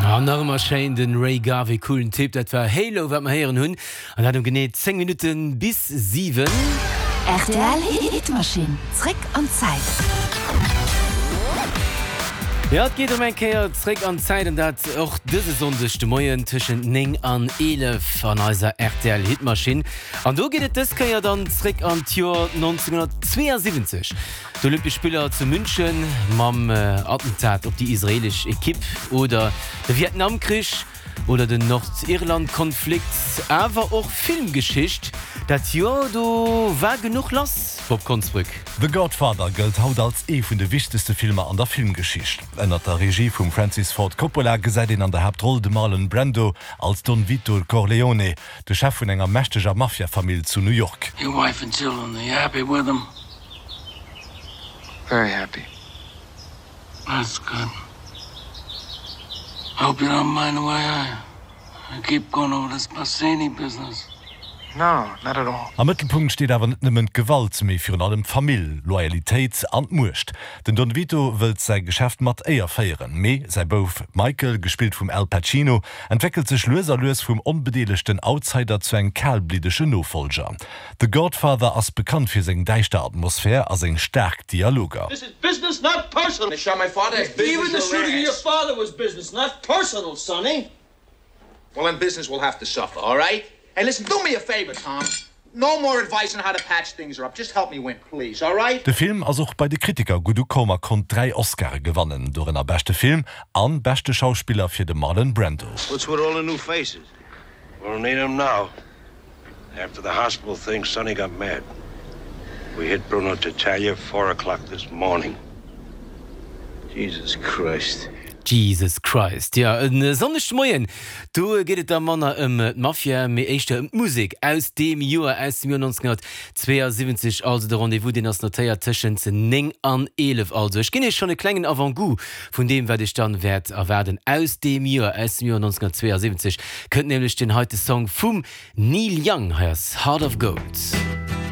An nach ëmmer schéin den Ray Garvey, coolen Typ. Dat war Halo wat mer héieren hunn an dat um genee 10 Minutten bis 7. Rtl Hitmachine, zréck an d'Zäit. Jo, et geet erëm eng Kéier zréck an d'Zäit an dat och dëse Sonndeg de Moien tëschent 9 an 11 an eiser rtl Hitmachine. An do geet et dës Kéier dann zréck an d'Joer 1972. D'Olympesch Spiller zu München mam Attentat op déi israeelesch Ekipp oder de Vietnamkrich oder den Nordirlandkonflikt, awer och Filmgeschicht. Dat Joer, do war genuch lass, Bob Konsbrück. The Godfather gëllt haut als ee vun de wichtegste Filmer an der Filmgeschicht. Ënnert der Regie vum Francis Ford Coppola gesäit een an der Haaptroll de Marlon Brando als Don Vito Corleone, de Chef vun enger mächteger Mafia-Famill zu New York. Your wife and children, are you happy with them? Very happy. That's good. I hope you don't mind the way I, I keep going over this Bassini business. No, not at all. Am Mëttelpunkt steet awer net nëmmen d'Gewalt, mee virun allem d'Famill, Loyalitéit an d'Muecht. Den Don Vito wëllt säi Geschäft mat Éier féieren, mee säi Bouf Michael, gespillt vum Al Pacino, entwéckelt sech lues a lues vum onbedeelegten Outsider zu engem kalbliddegen Nofollger. The Godfather ass bekannt fir seng däischter Atmosphär a seng staark Dialoger. This is business, not personal. They shot my father. Even the shooting of your father was business, not personal, Sonny. Well, then business will have to suffer, all right? Hey, listen, do me a favor, Tom. No more advice on how to patch things up. Just help me win, please, all right? De Film ass och bei de Kritiker gutt ukomm a konnt 3 Oscare gewannen, dorënner beschte Film an beschte Schauspiller fir de Marlon Brando. What's with all the new faces? We'll need 'em now. After the hospital thing, Sonny got mad. We hit Bruno Tattaglia four o'clock this morning. Jesus Christ. Jesus Christ, jo, e Sonndeg de Moien, do geet et da manner ëm d'Mafia, mee éischter ëm d'Musek aus deem Joer, aus dem Joer 1972. Also de Rendez-vous, deen ass notéiert tëschent 9 an 11. Also ech ginn iech schonn e klengen Avant-goût vun deem, wat iech dann wäert erwaarden aus deem Joer, aus dem Joer 1972. Kënnt nämlech deen heite Song vum Neil Young, hei ass Heart of Gold.